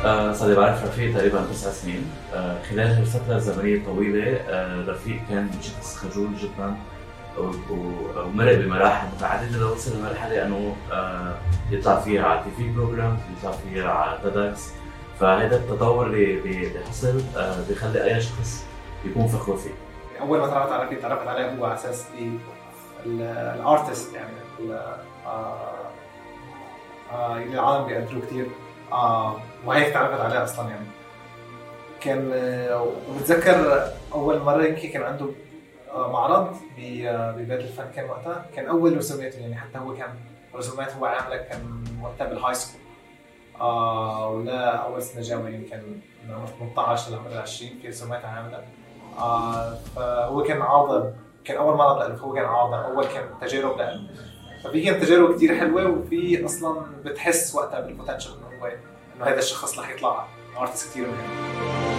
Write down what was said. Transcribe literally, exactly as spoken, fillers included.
آه صار لي بعرف رفيق تقريبا تسع سنين. آه خلال هالفترة الزمنية الطويلة آه رفيق كان شخص خجول جدا ومرق بمراحل متعددة لوصل لمرحلة أنه آه يطلع فيها على تي في بروجرام، يطلع فيها على تيدكس. فهذا التطور اللي حصل آه بيخلي أي شخص يكون فخور فيه. أول ما تعرفت على رفيق تعرفت عليه هو على أساس الارتست، يعني اللي العالم بيقدروه كتير، آه وهيك تعرفت عليه أصلاً. يعني كان آه وبتذكر أول مرة يمكن كان عنده آه معرض ببيت الفن كان وقتها، كان أول رسوماته، يعني حتى هو كان رسومات هو عامله كان وقتها بالهاي سكول، آه ولا أول سنة جامعة، يمكن من عمر ثمانية عشر لعمر عشرين في رسومات عامله. آه فهو كان عارضة، كان أول معرض له، هو كان عارضة أول كان تجارب له، ففي كانت تجارب كتير حلوة، وفي أصلاً بتحس وقتها بالبوتنشل إنه هو إنه هذا الشخص رح يطلع ارتست كتير مهم.